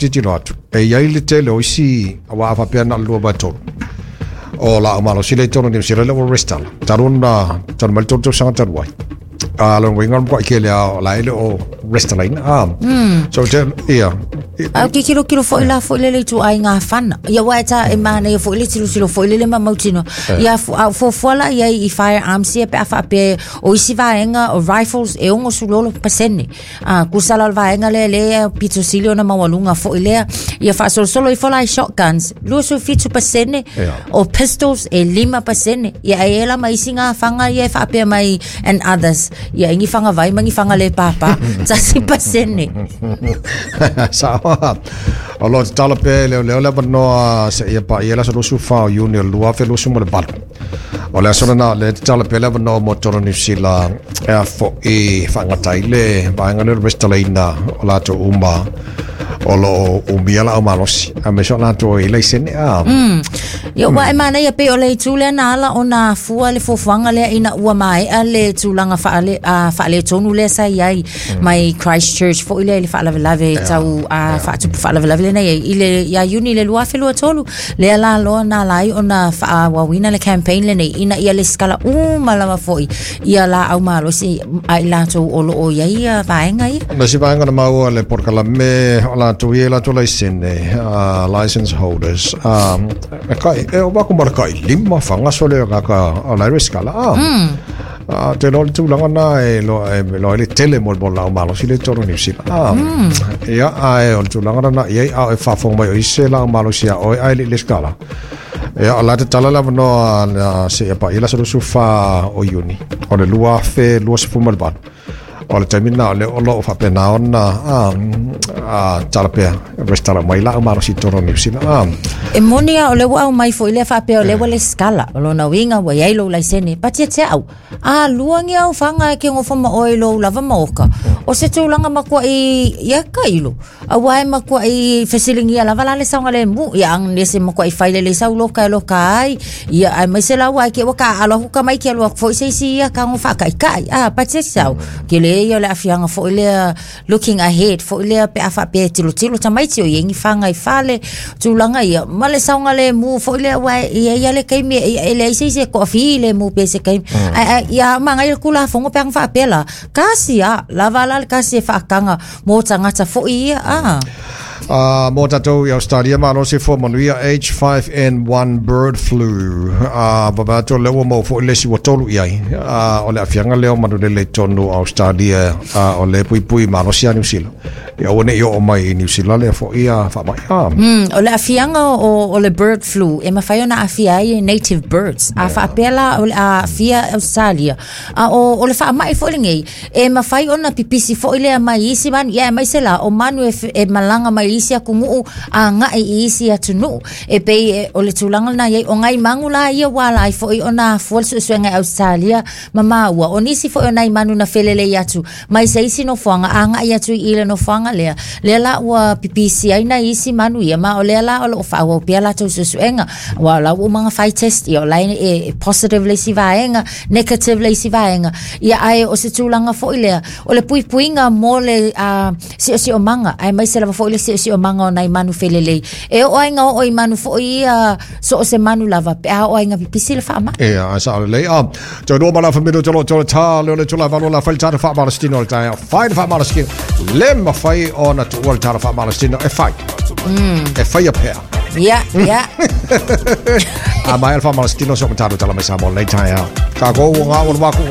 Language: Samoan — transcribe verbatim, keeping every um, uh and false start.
tilotilo atu e iai le tele o isi aua a faapea na o le lua vaetolu o laau malosi le i totonu o Niusila le ua resitala talu ona talu mai le tolu tausaga talu ai. A lona uiga o le matuai tele lava o la e le o resitalaina a. So te ia A ke kilokilo foi la foi lele ituaiga fana. Ia aua e ta e manaia foi le tilotilo foi lele ma mautinoa. Ia a fuafua la iai i firearms ia pe a faapea o isi vaega o rifles e ono sefulu ono pasene. A tusa la o le vaega lea lea e pito sili ona maualuga foi lea. Ia faasolosolo ifo la i shotguns luasefulu fitu pasene, o pistols e lima pasene. Ia ae i ai la ma isi gafaga ia e faapea mai and others. Ia i ni fagavai ma ni faga le pāpā tasi pasene. Sao. O lo o tatalo pea e leoleo le avanoa seia paia le aso luasefulu fa o Iuni o le lua afe luasefulu ma le valu. O le aso lena o lea e tatalo pea le avanoa mo totonu o Niu Sila e afo'i faagata ai le vaega lea o le resitalaina o latou uma o lo o umia laau malosi aemaise o latou e i ai laisene a. Ia, ua e manaia pei o le itu lea na ala ona afua le fuafuaga lea ina ua maea le tulaga faale, a, faaletonu lea sa i ai mai Christchurch foi lea i le faalavelave tau a, faatupu faalavelave lea na i ai i le ia Iuni i le lua afe lua tolu lea la loa na ala ai ona faaauauina le campaign lenei ina ia lesitala uma lava foi ia laau malosi a i latou o lo o i ai ia vaega ia. O le isi vaega na maua le polokalame o latou i ai latou laisene, uh, license holders, um, e kai, e ova atu ma le kai lima faga sole o kaka o la e resitala. Ah. Mm. Uh, te loa le tulaga na e loa e loa ai le tele mo le mo le laau malosi le i totonu o Niu Sila. Ah. Mm. Ia, ae o le tulaga na i ai a o e faafofoga mai o isi se laau malosi a oe ae le i resitala. Ia, o la e tatala le avanoa na seia paia le aso luasefulu fa o Iuni o le lua afe luasefulu ma le valu. O le taimi lena o lea o lo o faapena ona tatala pea, resitala mai laau malosi i totonu o Niu Sila. E moni lava o lea ua aumai foi lea faapea o lea ua lesitala. O lona uiga ua i ai lou laisene. Patiatia au, a lua ni au faga e ke gofo ma oe i lou lava maoka. O se tulaga matuai ia tailo. Aua e matuai fesiligia lava la le saogalemu. Ia aganese matuai fai lelei sau loka e loka ai. Ia aemaise la ua ai ke ua taaalo atu tamaiti alu atu foi se isi ia tago faataitai. A patiatia au. Tele ia o le aafiaga foi lea looking ahead foi lea pe a faapea e tilotilo tamaiti o i ai ni faga i fale tulaga ia ma le saogalemu foi lea aua e i ai lava le taimi e leai se isi e toafilemu pe se taimi ae ae ia magaia le Tulafono pe ana faapea la kasi a lava la le kasi e faataga mo tagata foi ia a. Uh, mo tatou i Australia, malosi fua manuia H five N one bird flu. Uh, vaavaai atu o lea ua maua foi le isi ua tolu i ai. Uh, o le aafiaga lea o manulele i totonu o Australia, uh, o lea e puipui malosi ia Niu Sila. Ia aua ne i oo mai i Niu Sila lea foi uh, faamai. Uh. Mm, o le aafiaga o, o le bird flu e mafai ona aafia ai e native birds. A faapea la o le aafia Australia. A o, o le faamai foi lenei e mafai ona pipisi foi lea mai isi manu, ia aemaise la o manu e, e malaga mai isi atunuu agai i isi atunuu. E pei e, o le tulaga lena i ai o nai manu la ia ua ala ai foi ona afua le suesuega i Australia ma maua. O nisi foi o nai manu na felelei atu mai se isi nofoaga agai atu i le nofoaga lea. Lea la ua pipisi ai nai isi manu ia, ma o lea la o loo faaauau pea latou suesuega. Aua o la ua uma ona fai test ia o la e, e positive le isi vaega, negative le isi vaega. Ia ae o se tulaga foi lea o le puipuiga mo le uh, siosiomaga aemaise lava foi le siosiomaga o nai manu felelei. E oo ai ina oo i manu foi ia so o se manu lava pe a oo ai ina pipisi le faamai. Ia, ae sao lelei. Ah, toe lua ma le afa minute o lo o toe ta leo le itula e valu o le a fai le tala faamalositino o le taeao. Fai le faamalositino. Le mafai ona tuua le tala faamalositino e fai. E faia pea. Ia, ia. A maea le faamalositino, so o matalo tala mai Samoa i lenei taeao. Tatou ua gaua le maku.